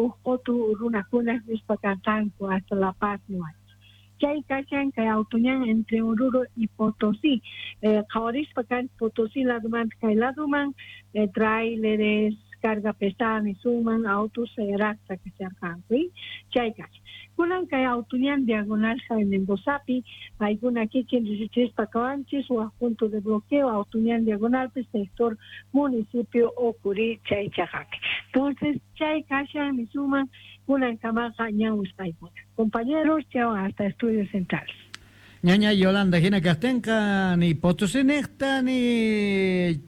Uj qotu runakuna rispa kanqanku hasta La Paz niwanchis. Chay kashan kay autoñan entre Oruro y Potosí. Qhawarispa kan Potosí ladomanta kay ladoman, tráileres, carga pesada nisuman, autos sayaraqta kasharqanku, chay kashan. Kunan kay autoñan diagonal Jaime Mendozapi, paykuna kikin riqsichispa kawanchis waj punto de bloqueo autoñan diagonalpi sector municipio Ocurí chay chaqapi. Entonces chay kashan nisuman kunan kamaqa ñan wisqaykuna. Compañeros, chao hasta Estudios Centrales. Ñaña Yolanda hina kaqtinqa ni Potosí niqta ni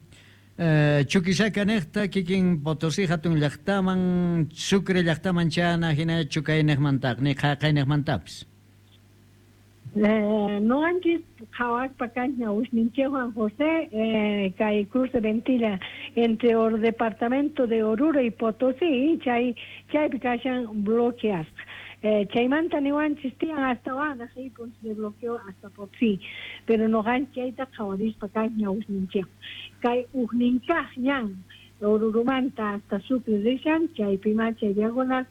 Chuquisaca niqta kikin Potosí hatun llaqtaman, Sucre llaqtaman chana hina chukayniqmantaq ni qhaqayniqmantapis. Noqanchis qhawaspa kanchis wisninchikwan José, kay cruce Ventilla entre el departamento de Oruro y Potosí, chaypi kashan bloqueasqa. Chaymanta niwanchis tiyan hasta wanaq puntos de bloqueo hasta Potosí, pero noqanchis chayta qhawarispa kanchis wisninchikwan. Kay ujninkaq ñan Orurumanta hasta Sucre rishan, chaypima chay diagonal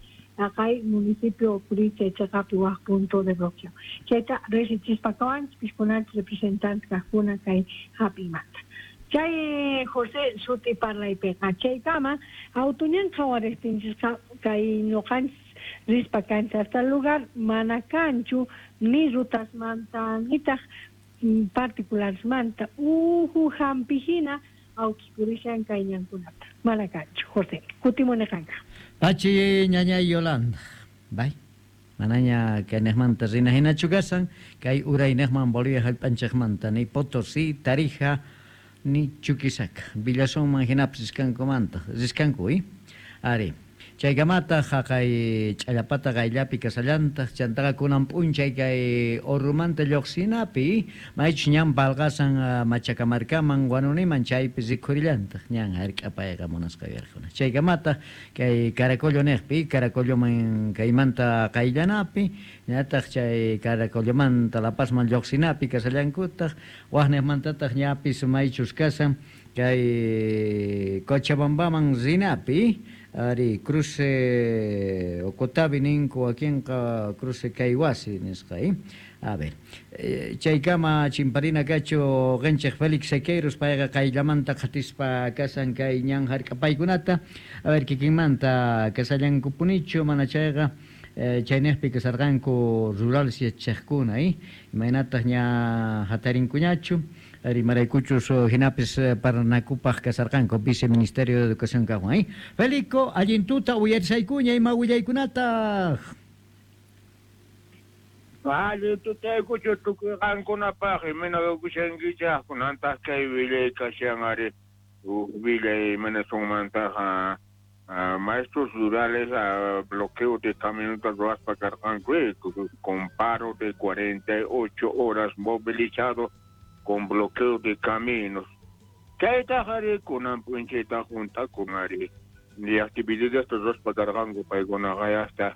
kay municipio Ocurí chay chaqapi waj punto de bloqueo. Chayta riqsichispa kawanchis pishkunanchis representante kaqkuna kay hap'imanta. Chay José suti parlaypiqa chaykama autoñan qhawariqtinchisqa kay ñuqanchis rispa kanchis hasta lugar mana kanchu ni rutasmanta nitaq particularesmanta uhu hampi hina autos purishan kay ñankunata mana kanchu. José, kutimuni qanka. Pachi ñañay Yolanda. Bay. Manaña kayniqmanta rina hinachu kasan, kay urayniqman Bolivia hallp'anchikmanta ni Potosí, Tarija, ni Chuquisaca. Villasunman hinapis riskankumanta, riskanku, Ari. Chaykamataq haqay ch'allapata qayllapi kasallantaq, chantaqa kunan p'unchay kay Orurumanta lluqsinapi, maychus ñan palqasan Machacamarcaman Huanuniman chaypi rikhurillantaq ñan hark'apayqa munasqa uyariqkuna. Chaykamataq kay Caracollo niqpi, Caracolloman kaymanta qayllanapi, ñataq chay Caracollomanta La Pazman lluqsinapi kasallankutaq, waqniqmantataq ñapis maychus kasan kay Cochabambaman rinapi, ari cruce Ocotavi ninku wakinqa cruce Caywasi nisqa, A ver, chaykama chimparina kachu qinchik Félix Sequeiros payqa qayllamanta qhatispa kasan kay ñan hark'apaykunata, a ver kikinmanta kasallankupunichu mana chayqa chayniqpi kasarqanku rurales yachachiqkuna, imaynataq ña hatarinkuñachu, rimaraykuchus hinapis parlanakupaq kasarqanku viceministerio de Educación kaqwan, Felico, allin tuta uyarisaykuña ima willaykunataq. Allin tutaykuchu tukuy qankunapaq imayna kushankichaq kunantaq kay willay kashan ari uj willay imayna maestros rurales bloqueo de camioneta ruwaspa karqanku con paro de 48 horas movilizado con bloqueo de caminos. Chaytaq ari kunan p'unchayta juntakun ari ni actividades ruwaspa karqanku paykunaqa hasta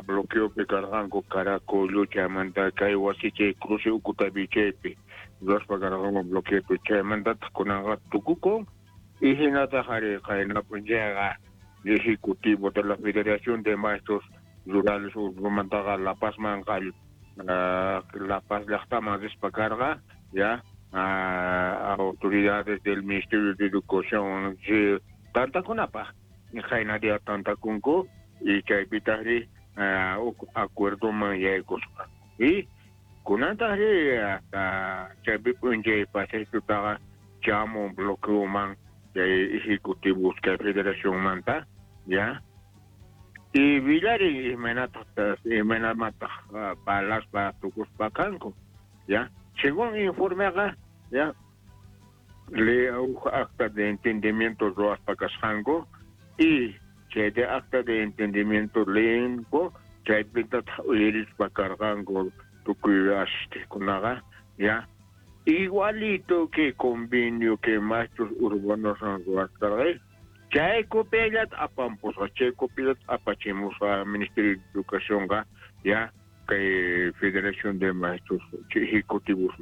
bloqueopi karqanku Caracollo chaymanta kay wasichay cruce Ucutavi chaypi ruwaspa karqanku bloqueopi chaymantataq kunanqa tukukun y hinataq ari qayna p'unchayqa ejecutivo de la Federación de Maestros Rurales Urrumantaqa La Pazman La Paz llaqtaman rispa karqa ya autoridades del Ministerio de Educación tantakunapaq qayna día tantakunku y chaypitaqri acuerdoman yaykusqa y kunantaqri hasta chaypi p'unchay pasaytutaqa chamun bloqueoman chay ejecutivos kay federacionmanta ya y villari imaynamataq palaspa tukuspa kanku ya según informeqa ya le acta de entendimiento ruwaspa kasqanku y chay de acta de entendimiento leenku chaypitataq uyarispa karqanku tukuy asistikunaqa ya igualito que convenio que maestros urbanos ruwasqarqa chay copiallat apampusqa chay copiallat apachimusqa Ministerio de Educacionqa ya kay Federación de Maestros Ejecutivos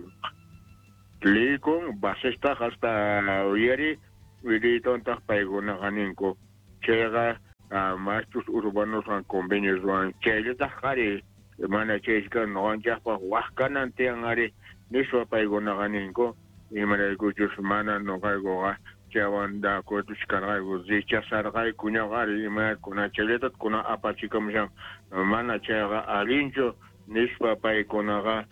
leekun basestaq hasta uyari willaytantaq paykunaqa ninku chayqa Maestros urbanoswan convenio ruwan chayllataj ari mana chayshka noqanchaqpaq waj kanan tiyan ari nispa paykunaqa ninku imaraykuchus mana noqaykuqa chaywan de acuerdo karqayku rechazarqayku ñaqa ari imakuna chayllatat kuna apachikamushan mana chayqa allinchu nispa paykunaqa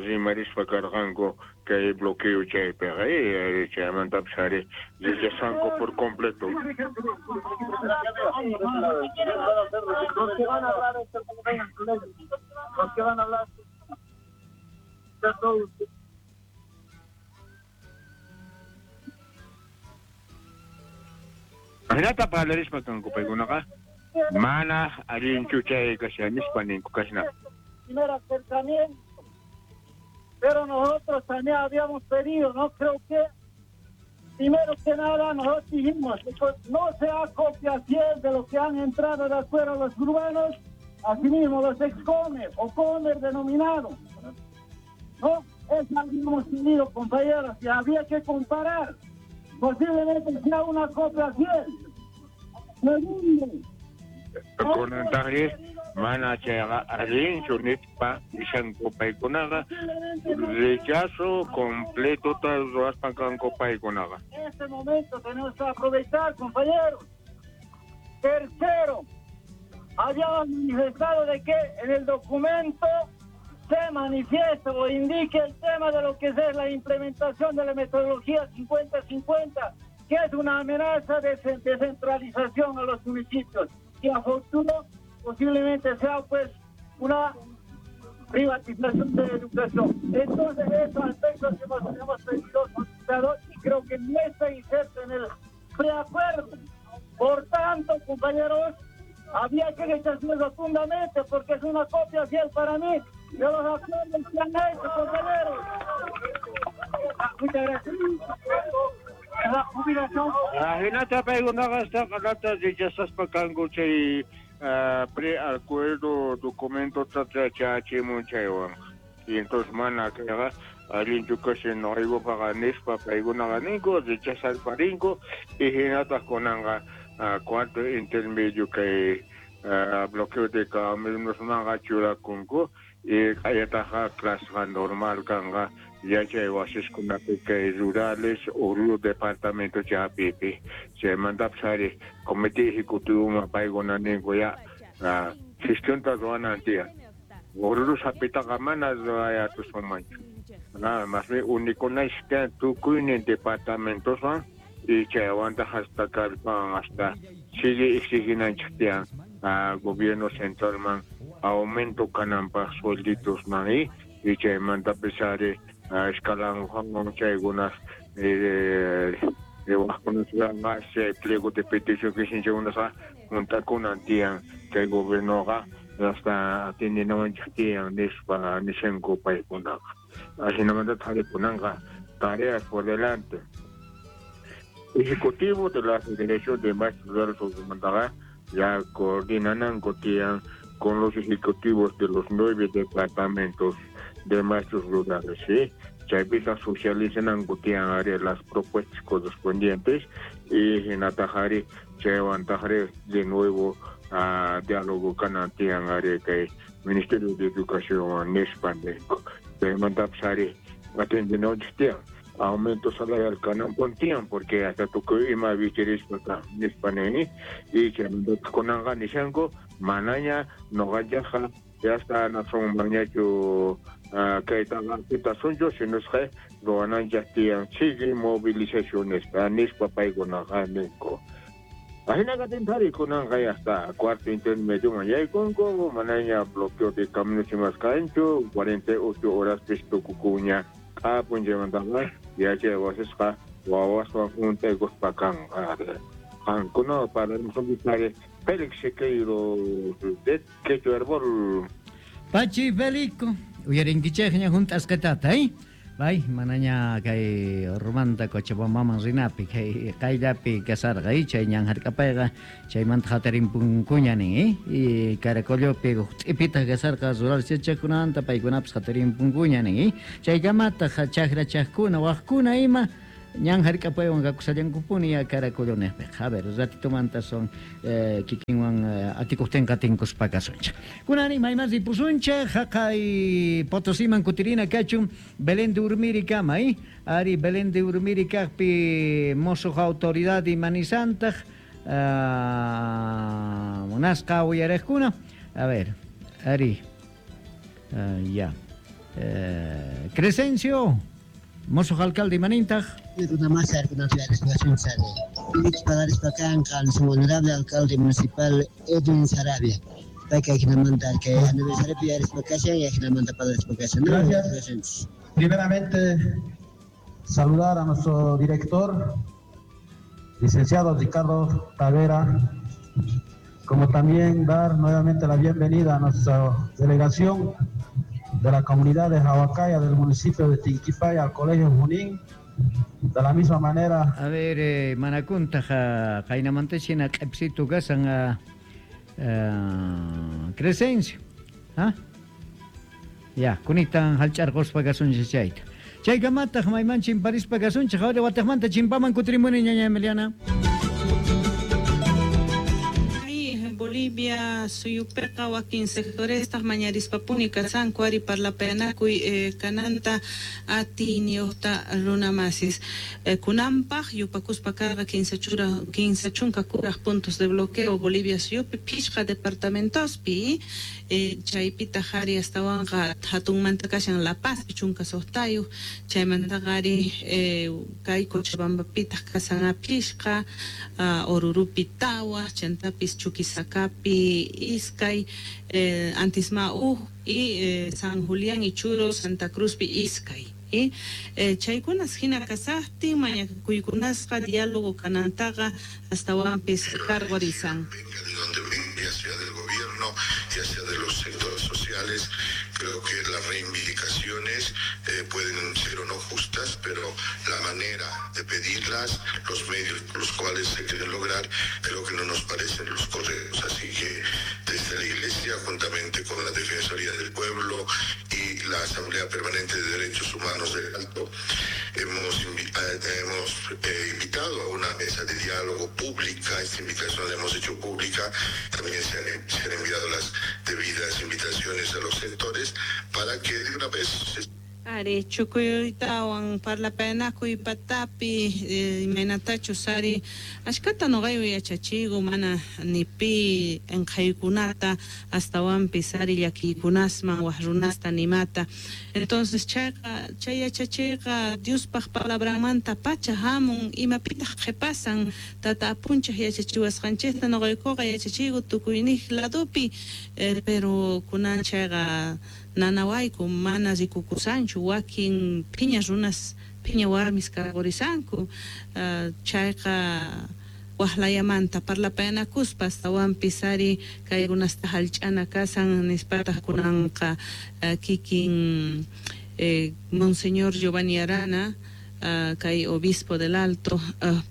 rimarispa karqanku kay bloqueo chaypiqa chaymantapis ari rechazanku por completo. Los que van a hablar, Hinata parlarispa kanku paykunaqa mana allinchu chay kashan nispa ninku kashna. Primer acercamiento, pero nosotros también habíamos pedido, no creo que, primero que nada nosotros dijimos, no sea copia fiel de lo que han entrado de acuerdo los urbanos, asimismo los ex-comer o comer denominados, ¿no? Eso habíamos pedido, compañeros, y había que comparar. Posiblemente sea una copia fiel. Segundo, Kunantajri mana chayqa allinchu nispa nishanku paykunaqa rechazo completota ruwaspa kanku paykunaqa. En este momento tenemos que aprovechar, compañeros. Tercero, habíamos manifestado de que en el documento se manifiesta o indique el tema de lo que es la implementación de la metodología 50-50, que es una amenaza de descentralización a los municipios, y a futuro posiblemente sea pues una privatización de la educación. Entonces, esos aspectos que hemos pedido, solicitado, y creo que no está inserto en el preacuerdo. Por tanto, compañeros, había que rechazarlo rotundamente porque es una copia fiel para mí de los acuerdos que han hecho, compañeros. Muchas gracias. La jubilación. Hinata paykunaqa hasta rechazaspa kanku chay preacuerdo documento chachimun chaywan. Y entonces mana kayqa allinchu kashan noqaykupaqa nispa paykunaqa ninku rechazaspa rinku y hinataq kunanqa cuarto intermedio kay bloqueo de caminosmanqa churakunku y k'ayataqa claseqa normal kanqa yachay wasiskunapi kay rurales Oruro departamento chaypipi chaymantapis ari comité ejecutivoman paykuna ninku ya gestionta ruwanan tiyan Oruro sapitaqa mana ruwayatusunmanchu nada más bien unikunashka tukuynin departamentoswan y chaywantaq hasta kallpan hasta sigue exiginanchik tiyan gobierno centralman aumento kananpaq suelditos man y chaymantapis ari escalanwan chaykunas wajkunasqa chay pliego de petición kishinchaykunasqa juntakunan tiyan chay gobiernoqa hasta atendinawanchik tiyan nispa nishanku paykunaqa. Ajinamanta tarikunanqa tareas por delante. Ejecutivo de la Federación de Maestros Rurales ya coordinananku tiyan con los ejecutivos de los 9 departamentos de maestros rurales, ¿sí? Chaypita socializananku tiyan ari las propuestas correspondientes y hinatajari chaywantajari de nuevo diálogo kanan tiyan ari kay Ministerio de Educación nispa ninku. Chaymantapis ari atendinanchik tiyan aumento salarial kanan tiyan porque hasta tukuy ima vichirispa nispa nini y chaymantapis kunanqa nishanku manaña noqanchaqqa ya está nacionmanñachu kaytaqa kitasunchu sinusqa ruwananchaq tiyan sigue movilizaciones nispa paykunaqa ninku. Ajinaqa tintari kunanqa ya está cuarto intermedioman yaykunku manaña bloqueo de caminos imas kanchu 48 horas pis tukukuña q'apunchaymantaqa yachay wasisqa wawaswan juntaykuspa kanqa. Qankuna parlamusunchis Félix Sequeiro de Quechua Herbol. Pachi Felico, uyarinkichejña junt'asqitata, ¿eh? Bay, manaña kay Ormanta Cochabambaman rinapi, kay qayllapi kasarqa, chay ñan hark'apayqa, chaymanta hatarimpunkuña nin, y Caracollopi t'ipitaq kasarqa rural yachaqkunanta, paykunapis hatarimpunkuña nin, chaykamataq chakrachaqkuna, waqkuna ima, Ñan hark'apaywan kakusallankupuni ya Caracolonejpiqa. A ver, ratitomanta son kikinwan atikuqtinqa tinkuspa kasunchik. Kunani mayman ripusunchik haqay Potosiman kutirina kachun Belén de Urmirikama, Ari Belén de Urmiri kaqpi mosoq autoridad imanisantaq munasqa uyariqkuna. A ver, ari, ya. Crescencio, mosoq alcalde imanintaq. Honorable alcalde municipal Edwin Sarabia. Gracias. Primeramente, saludar a nuestro director, licenciado Ricardo Tavera, como también dar nuevamente la bienvenida a nuestra delegación de la comunidad de Jahuacaya del municipio de Tinquipaya al Colegio Junín. De la misma manera. A ver, manakuntaj qaynamantachina q'ipsitu kasan Crescencio. ¿Ah? Ya, kunitan hallch'arquspa kasunchik chayta. Chaykamataq mayman chimparispa kasunchik, ahora wataqmanta chimpaman kutirimuni ñaña Emiliana. Bolivia suyupiqa wakin sectorestaq mañarispapuni kasanku ari parlapayanakuy kananta atiyniyuqta runamasis. Kunanpaq yupakuspa karqa 15 kuraj puntos de bloqueo Bolivia suyupi phishqa departamentospi chaypitaq ari astawanqa hatunmanta kashan La Paz 16 chaymantaqa ari kay Cochabambapitaq kasan phishqa Orurupi tawa chantapis Chuquisacapi iskay Antisma uj y San Julián y Churo Santa Cruzpi iskay. Chaykunas hina kasaqtin mañakuykunasqa diálogo kanantaqa astawanpis cargorisan. Venga de donde venga, ya sea del gobierno, ya sea de los sectores sociales, creo que las reivindicaciones pueden ser o no justas, pero la manera de pedirlas, los medios por los cuales se quieren lograr, creo que no nos parecen los correctos. Así que desde la Iglesia, juntamente con la Defensoría del Pueblo y la Asamblea Permanente de Derechos Humanos del Alto, hemos invitado a una mesa de diálogo pública. Esta invitación la hemos hecho pública, también se han enviado las debidas invitaciones a los sectores para que de una vez se... Ari, chukuytawan parlapayanakuy patapi imaynatachus ari ashkata noqaywan yachachigu mana ni pi enqhaykunata astawanpis ari llakiykunasman waj runasta nimata. Entonces chayqa chay yachachiyqa Diospaq palabranmanta pacha hamun imapitaq qhipasan tata apunchaq yachachiwasqanchikta noqaykuqa yachachigu tukuyniq ladopi pero kunan chayqa nanawayku mana rikukusanchu wakin phiña runas phiña warmis karqurisanku chayqa waqlayamanta parlapayanakuspa astawanpis ari kaykunasta hallch'ana kasan nispataq kunanqa kikin Monseñor Giovanni Arana kay obispo del Alto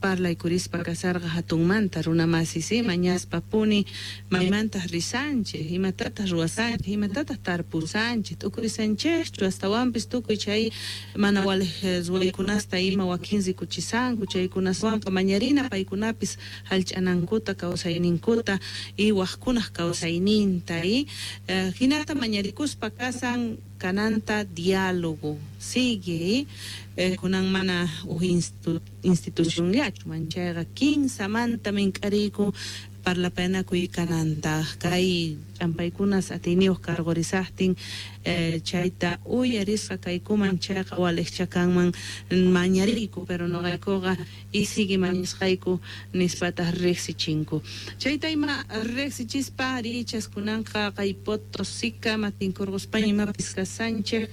parlaykurispa kasarqa hatunmanta runamasis mañaspa puni maymantaq risanchik imatataq ruwasanchik imatataq tarpusanchik t'ukurisanchikchu astawanpis tukuy chay mana waliq ruwaykunasta ima wakin rikuchisanku chaykunaswanqa mañarina paykunapis hallch'anankuta kawsayninkuta y waqkunaq kawsayninta y hinata mañarikuspa kasan kananta diálogo sigue kunan mana uj institucionllachu manchayqa kinsamanta mink'ariyku parlapayanakuy kananta kay ch'ampaykunas atiyniyuq karqurisaqtin chayta uyarisqa kaykuman chayqa waliqcha kanman mañariyku pero noqaykuqa y sigue mañasqayku nispataq riqsichinku chayta ima riqsichispa arichas kunanqa kay Potosika matinkurquspaña imapis kasanchik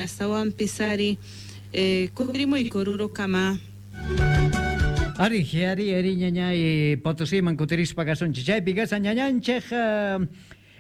astawanpis ari kutirimuyku Orurokama. Ari, ari, ari, ñañay, Potosiman kutirispa kasunchik chaypi kasan ñañanchik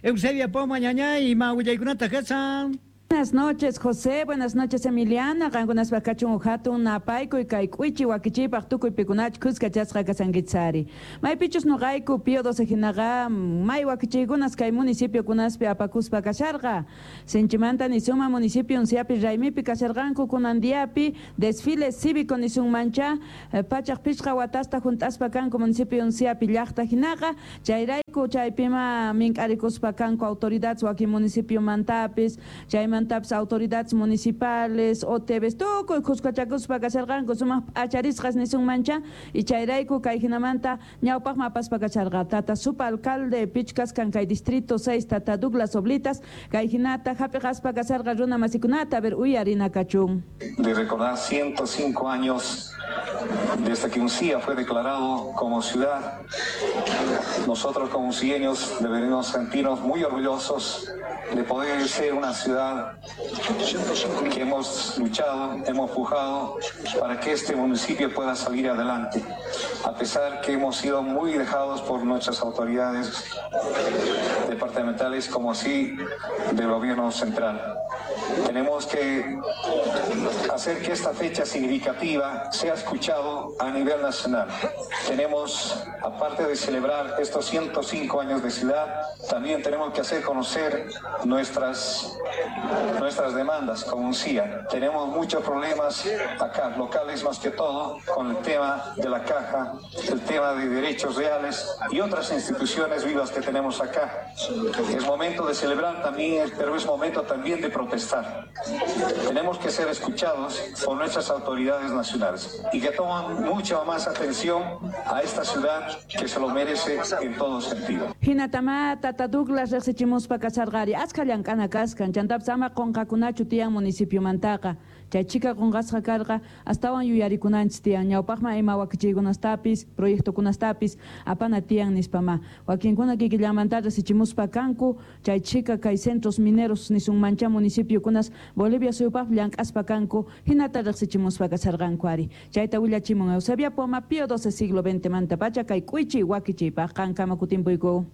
Eusebia Poma ñañay, ima willaykunata kasan. Buenas noches, José. Buenas noches, Emiliana. Qankunaspa kachun hatun napaykuy kay k'uichi wakichiypaq tukuy pikunach khuskachasqa kasankichari. Maypichus nuqayku Pío XII hinaqa may wakichiykunas kay municipiokunaspi apakuspa kasharqa. Sinchimanta nisuma municipio Unciapi raymipi kasharqanku kunan diapi desfile cívico nisunmancha 105 watasta junt'aspa kanku municipio Unciapi llaqta hinaqa chayrayku chaypima mink'arikuspa kanku autoridades wakin municipio mantapis chaymantapis autoridades municipales OTVs tukuy khuskachakuspa kasharqanku sumaq p'acharisqas nisunmancha y chayrayku kay hinamanta ñawpaqman apaspa kasharqa tata supa alcalde pichkaskan kay distrito 6 tata Douglas Oblitas kay hinata hap'iqaspa kasharqa runa masikunata a ver uyarina kachun. De recordar 105 años desde que Uncía fue declarado como ciudad, nosotros como uncieños deberíamos sentirnos muy orgullosos de poder ser una ciudad que hemos luchado, hemos pujado para que este municipio pueda salir adelante, a pesar que hemos sido muy dejados por nuestras autoridades departamentales como así del gobierno central. Tenemos que hacer que esta fecha significativa sea escuchado a nivel nacional. Tenemos, aparte de celebrar estos 105 años de ciudad, también tenemos que hacer conocer nuestras demandas como Uncía. Tenemos muchos problemas acá, locales más que todo, con el tema de la caja, el tema de derechos reales y otras instituciones vivas que tenemos acá. Es momento de celebrar también, pero es momento también de protestar. Tenemos que ser escuchados por nuestras autoridades nacionales y que toman mucha más atención a esta ciudad que se lo merece en todo sentido. Hinatama tata Douglas riqsichimuspa kasharqari achka llank'ana kaskan chantapis ama qunqakunachu tiyan municipiomantaqa chay chika qunqasqa karqa astawan yuyarikunanchis tiyan ñawpaqman ima wakichiykunastapis proyectokunastapis apana tiyan nispama wakinkuna kikillamanta riqsichimuspa kanku chay chika kay centros mineros nisunmancha municipiokunas Bolivia suyupaq llank'aspa kanku hinata riqsichimuspa kasharqanku ari chayta willachimun Eusebia Poma Pío XII siglo XX manta pacha kay k'uichi wakichiypaq qankama kutimpuyku.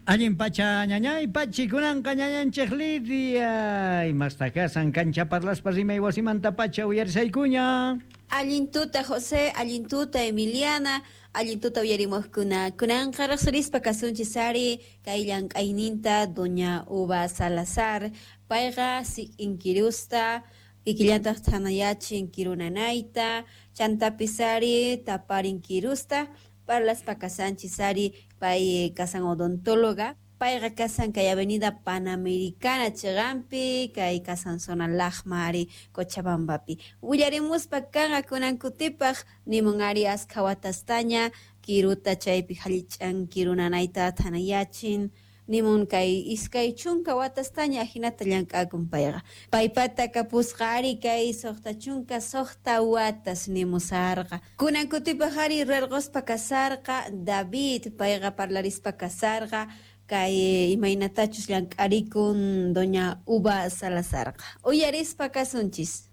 Allin pacha ñañay pachi kunanqa ñañanchik Lidia imasta kasan kancha parlaspa rimay wasimanta pacha uyarisaykuña. Allin tuta José, allin tuta Emiliana, allin tuta uyarimuqkuna. Kunanqa riqsirispa kasunchis ari kay llank'ayninta doña Uva Salazar, payqa sik'inkirusta kikillantaq thanayachin kirunanayta, chantapis ari taparin kirusta, parlaspa kasanchis ari pay kasan odontóloga, payqa kasan kay avenida Panamericana chiqanpi, kay kasan zona Lajma ari Cochabambapi. Willarimuspa kanqa kunan kutipaq nimun ari askha watastaña kiruta chaypi hallich'an kirunanayta thanayachin, nimun kay 20 watastaña ajinata llank'akun payqa. Paypata kapusqa ari kay 66 watas nimusarqa. Kunan kutipaq ari rarquspa kasarqa David payqa parlarispa kasarqa kay imaynatachus llank'arikun doña Uva Salazarqa. Uyarispa kasunchis.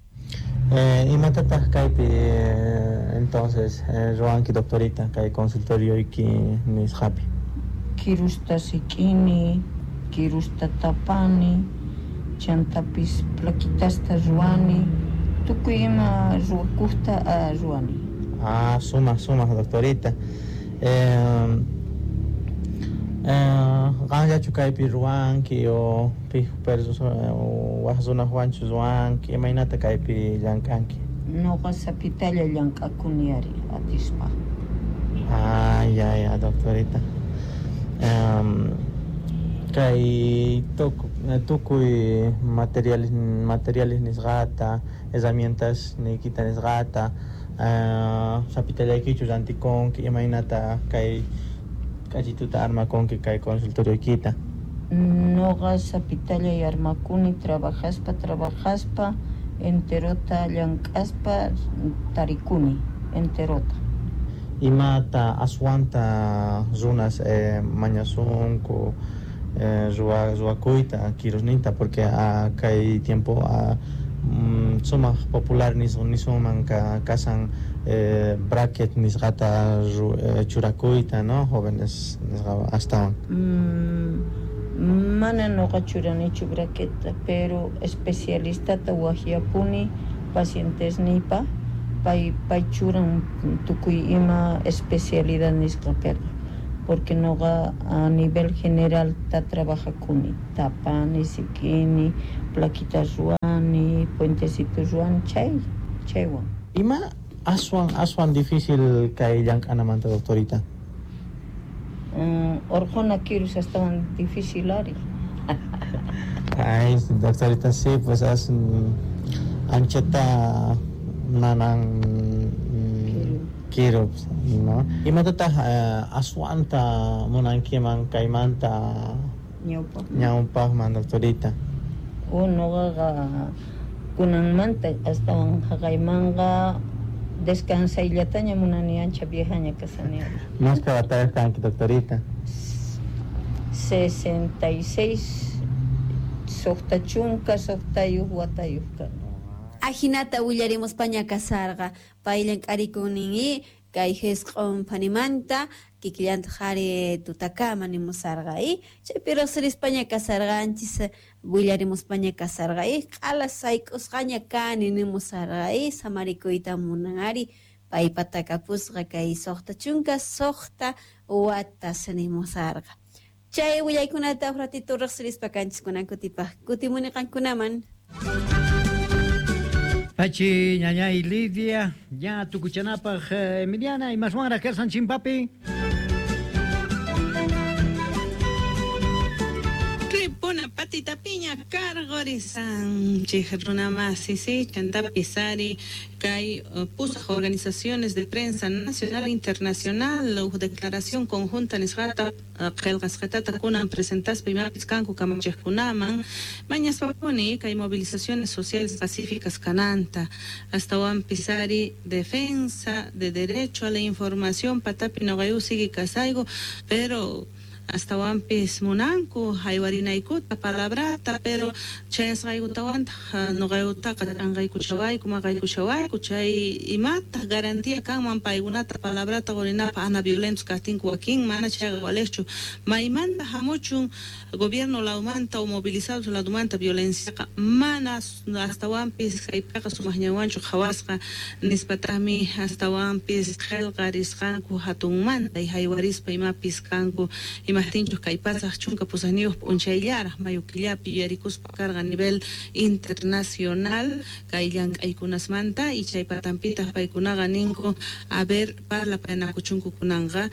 Imatataq kaypi entonces ruwanki doctorita kay consultorioyki nisqapi? Kirusta sik'ini, kirusta tapani, chantapis plaquitasta ruwani, tukuy ima ruwakuqta ruwani. Ah, sumaq doctorita. Qanllachu kaypi ruwanki o pij waj runaswanchu ruwanki, imaynata kaypi llank'anki? Nuqa sapitalla llank'akuni ari atispa. Ah, ya, doctorita. Kay tukuy materiales nisqata, herramientas niykita nisqata, sapitallaykichu rantikunki, imaynata kay k'achituta armakunki kay consultorioykita? Nuqa sapitallay armakuni trabajaspa enterota llank'aspa tarikuni enterota. Imata aswanta runas mañasunku ruwakuyta kirusninta porque kay tiempo Sumaq popular nisunman kasan bracket nisqata churakuyta, no, jóvenes nisqa astawan. Mana noqa churanichu braqueta, pero especialistata wajyapuni pacientesniypa, pay churan tukuy ima especialidad nisqapiqa, porque noqa a nivel general ta trabajakuni, tapani, sikini, plaquitas ruwani, puentecitos ruwani, chaywan. Ima aswan difícil kay llank'anamanta, doctorita? Orqhuna kirus astawan difícil ari. Ay, doctorita, sí, pues as anchata nanan kiru, no? Imatataq aswanta munankiman kaymanta ñawpaqman, doctorita? Noqaqa kunanmanta astawan haqaymanqa descansayllataña munani, ancha viejaña kasani. Mashka watayuq kanki, doctorita? 66, 66 watayuq kani. Ajinata willarimuspaña kasarqa, pay llank'arikunin kay jisq'on phanimanta kikillantaq ari tutakama nimusarqa chaypi riqsirispaña kasarqanchis willarimuspaña kasarqa q'ala sayk'usqaña kani nimusarqa samarikuyta munan ari paypata kapusqa kay 66 watas nimusarqa. Chay willaykunata uj ratito riqsirispa kanchis kunan kutipaq kutimuni qankunaman. Pachi, ñañay Lidia, ya tukuchanapaj Emiliana, imaswanraj karsan chimpapi. Ripuna patita piña cargorisan runamasi, sí, chantapis ari kay pusaj organizaciones de prensa nacional e internacional uj declaración conjunta nisqata qillqasqatata kunan presentaspa imapis kanku kamachejkunaman mañaspapuni kay movilizaciones sociales pacíficas kananta astawanpis ari defensa de derecho a la información patapi noqayu sigue kasayku, pero astawanpis munanku haywarinaykuta palabrata, pero chayasqaykutawantaq noqaykutaqa ch'anqaykuchawayku maqaykuchawayku chay imataq garantía kanman paykunata palabrata qurinapaq ana violentos kaqtinku wakin mana chayqa waliqchu maymanta hamuchun gobierno lawmanta o movilizados lawmanta violenciaqa mana astawanpis kaypiqa sumaqñawanchu qhawasqa nispataqmi astawanpis qillqarisqanku hatunmanta haywarispa imapis kanku imajtinchus kay pasaq 18 p'unchayllaraq mayo killapi yuyarikuspa karqa a nivel internacional kay llank'aykunasmanta y chay patanpitaq paykunaqa ninku a ver parlapaynakuchunku kunanqa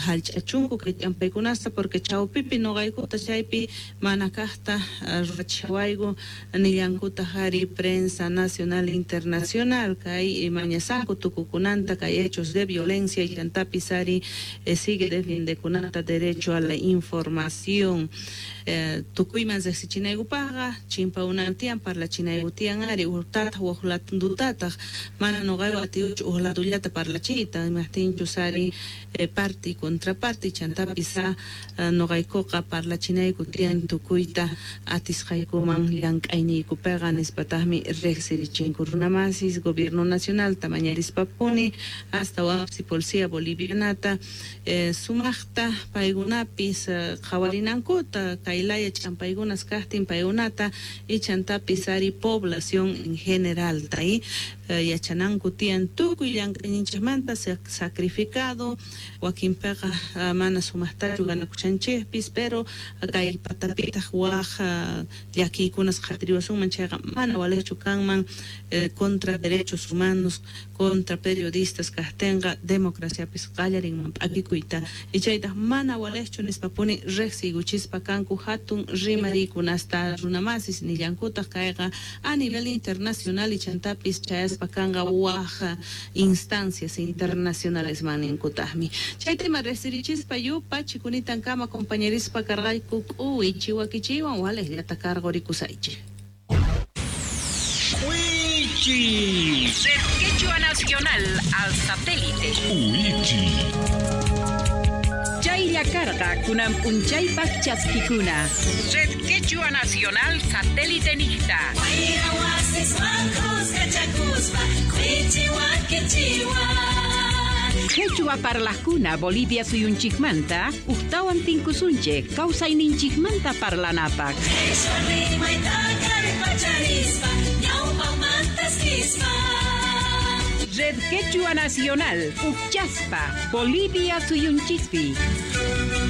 hallch'achunku kay ch'ampaykunasta porque chawpipi noqaykuta chaypi mana kaqta ruwachawayku nillankutaq ari prensa nacional internacional kay mañasanku tukukunanta kay hechos de violencia y chantapis ari sigue defiendekunata derecho a la información. Tukuyman riqsichinaykupaqqa chimpaunantiyan parlachinaykutiyan ari uqtataq waqlatundutataq mana noqayku atiyuchu uqlatullata parlachiyta imaqtinchus ari parte y contraparte chantapis noqaykuqa parlachinayku tiyan tukuyta atisqaykuman llank'ayniykupiqa nispataqmi riqsirichinku runamasis gobierno nacional mañarispapuni hasta waqsi policía bolivianata sumaqta paykunapis qhawarinankuta kaylaya ch'ampaykunas kaqtin paykunata y chantapis ari población en general yachananku tiyan tukuy llank'ayninchikmanta sacrificado wakinpiqa mana sumaqtachu ganakuchanchikpis pero kay patapitaq waq llakiykunas qhatiriwasunman chayqa mana waliqchu kanman contra derechos humanos contra periodistas kaqtinqa democraciapis qallarinman p'akikuyta y chaytaq mana waliqchu nispapuni riqsiykuchispa kanku hatun rimariykunasta runamasis nillankutaq kayqa a nivel internacional y chantapis chayaspa kanqa waq instancias internacionales maninkutaqmi chay tema riqsirichispa yupa chikunitankama compañerispa karqayku k'uwichi wakichiwan waliqllata karqurikusaychik. Uichi. Del Quechua Nacional al satélite. Uichi. Chay Jinalla karqa kunan p'unchaypaq chaskikuna. Red Quechua Nacional Satélite Nijta. Quechua parlajkuna Bolivia suyunchikmanta ujtawan tinkusunchik kawsayninchikmanta parlanapaq. Red Quechua Nacional, Uchaspa, Bolivia suyunchikpi.